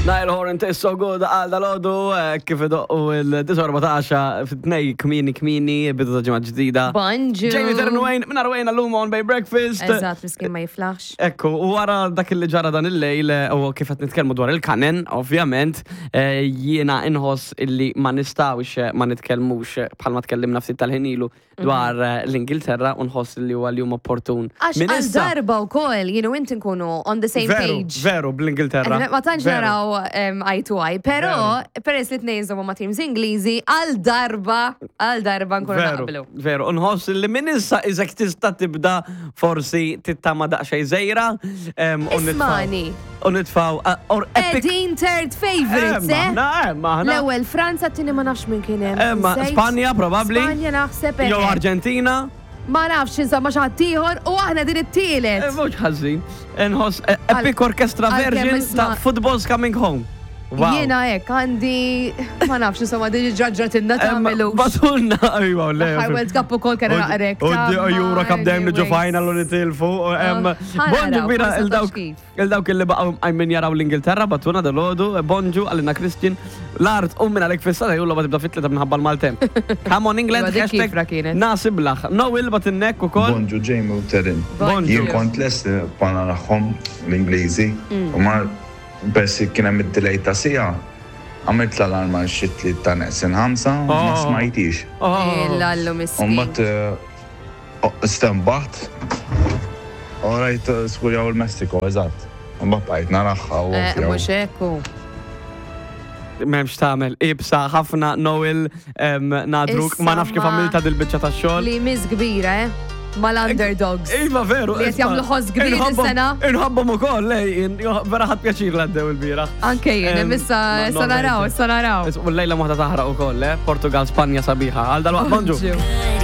Nile Horan tastes so good għal dal-ħodu eh, kif idoqqu il-9:14 fit-tnej kmini kmini bidu ta' ġimgħa ġdida. Bonġu. Jamie Terren Wayne, minn Wayne għallum on Bay Breakfast. Eżatt, miskin ma jiflaħx. Ekku, u wara dak li ġara dan il-lejl eh, u kif qed nitkellmu dwar il-kanen, ovvjament, eh, jiena inħoss illi ma nistgħux eh, ma nitkellmux eh, bħalma tkellimna ftit tal-ħin ilu dwar eh, l-Ingilterra u nħoss li huwa l-jum opportun. Għax Minn għal issa- darba u koll, jien u inti nkunu on the same Veru, page. veru, bl-Ingilterra. Ma tantx Veru. naraw um, eye to eye, pero peress li tnejn żommu ma' teams Ingliżi, għal darba, għal darba nkunu Veru, naqblu. veru, nħoss li minn issa iżek tista' tibda forsi tittama daqsxejn żejra. em, u nitfaw- Ismani. U nitfaw, uh, or epic. Edin third favorites, Emma, eh? na, emma, aħna. L-ewwel Franza, t-tieni ma nafx minn kien hemm. Emma, Nsejt. Spanja probabbli. Spanja naħseb Jew eh. Arġentina. Ma nafx insomma xi ħadd ieħor u aħna din it-tielet. Eh, Mhux ħażin. Nħoss eh, epic orchestra għalkemm version isma' ta' Football's Coming Home. Wow. Jiena hekk għandi ma nafx insomma din ġraġratilna Emma, tagħmelu. Batulna, ajwa, le. L-aħħar World Cup ukoll kien naqrek. U Euro Cup dejjem niġu final u nitilfu. Ah, Bonġu kbira il-dawk kif. il-dawk illi baqgħu għajmin jaraw l-Ingilterra batuna dal-ħodu, bonġu għalina Christian, l-art u minn għalik fissa jullu ma tibda fit-tlieta minħabba l-Maltemp. Come on England, Iva, dik hashtag kifra kienet. nasiblaħ. Noel batinnek u koll. Bonġu Jamie u Terin. Bonġu. Jien kont lest li pana nagħhom l-Ingliżi u ma persi kien hemm id-delay ta' sija. Għamilt l-alarm għal xi tliet ta' neqsin ħamsa u ma Oh. smajtix. Oh. Illallu U miskin. mbagħad eh, oh, stembaħt u rajt eh, skurjaw il-Messiko, eżatt. U mbagħad bqajt naraħħa u Eh, ovvja. Mhux hekk hu. Memx tamel, ibsa ħafna Noel em, nadruk, ma nafx kif Issa ma- għamilta dil-bicċa ta' xogħol. Li miss kbira, eh? Mal-underdogs. Iva veru. Li qed isma' jagħmlu ħoss kbir inħobbhom- is-sena. Inħobbhom ukoll, lej, in- vera ħadd pjaċir l għaddew il-bieraħ. Anke jien, Em, issa ma- issa naraw, issa naraw. U l-lejla waħda taħraq ukoll, eh? Portugal, Spanja sabiħa. Għal dal-waqt, bonġu. Bonġu.